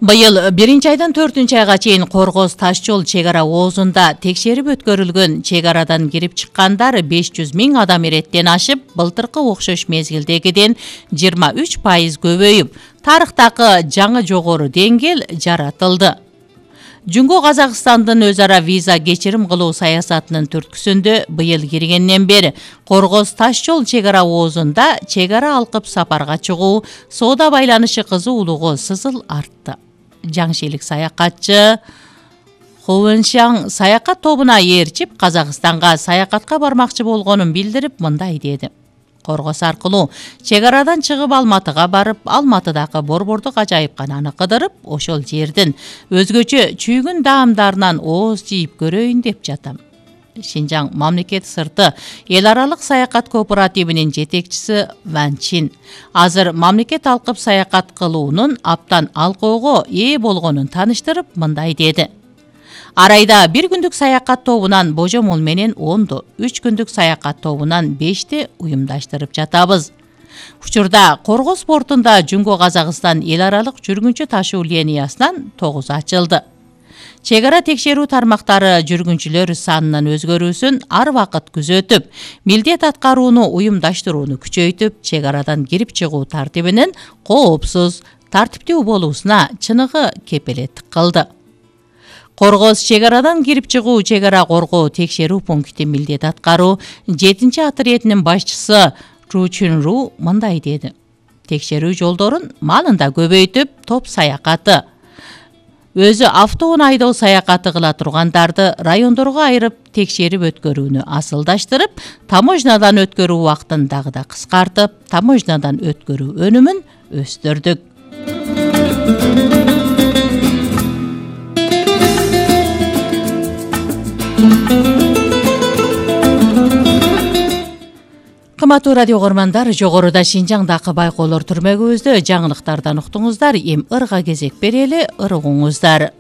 Быйыл 1-айдан 4-айга чейин Коргоз таш жол чек ара оозунда текшерип өткөрүлгөн чек арадан кирип чыккандар 500 000 адам эреттен ашып, былтыркы окшош мезгилдегиден 23% көбөйүп, тарыхтагы жаңы жогору деңгээл жаратылды. Жунго Казакстандын өз ара виза кечирим кылуу саясатынын түрткүсүндө быйыл киргенден бери Коргоз таш жол чек ара оозунда чек ара алкып сапарга чыгуу, соода байланышы кызуулугу сызыл артты. Жаңшилик саякатчы Хувеншаң саякат тобуна ээрчип Казакстанга саякатка бармакчы болгонун билдирип мындай деди. Коргоз аркылуу чек арадан чыгып Алматыга барып, Алматыдагы борбордук ажайыпкананы кыдырып, ошол жердин өзгөчө чүйгүн даамдарынан ооз жийип көрөйүн деп жатам. Шинжаң мамлекет сырты эл аралык саякат кооперативинин жетекчиси Ван Чин азыр мамлекет алкып саякат кылуунун аптан алкоого ээ болгонун таныштырып мындай деди. Арайда 1 күндүк саякат тобунан божомол менен 10, 3 күндүк саякат тобунан 5 уюмдаштырып жатабыз. Учурда Коргоз портунда Жунго Казакстан эл аралык жүргүнчү ташуу линиясынан 9 ачылды. Чек ара текшерүү тармактары жүргүнчүлөр санынын өзгөрүүсүн ар вакыт күзөтүп, милдет аткарууну уюмдаштырууну күчөйтүп, чек арадан кирип чыгуу тартибинин коопсуз, тартиптүү болуусуна чыныгы кепелеттик кылды. Коргоз чек арадан кирип чыгуу чек ара коргоо текшерүү пункти милдет аткаруу 7-отрядынын башчысы Ру Чунру мындай деди. Текшерүү жолдорун маалында көбөйтүп, топ саякаты, өзү автоун айдоо саякаты кыла тургандарды райондорго айырып текшерип өткөрүүнү асылдаштырып, таможнядан өткөрүү убактын дагы да кыскартып, таможнядан өткөрүү өнүмүн өстүрдүк. Кымбаттуу радио көрмандар, жогоруда Шинжаңдагы байкоолор түрмөгүбүздө жаңылыктардан уктуңуздар. Эми ырга кезек берели, ырыгыңыздар.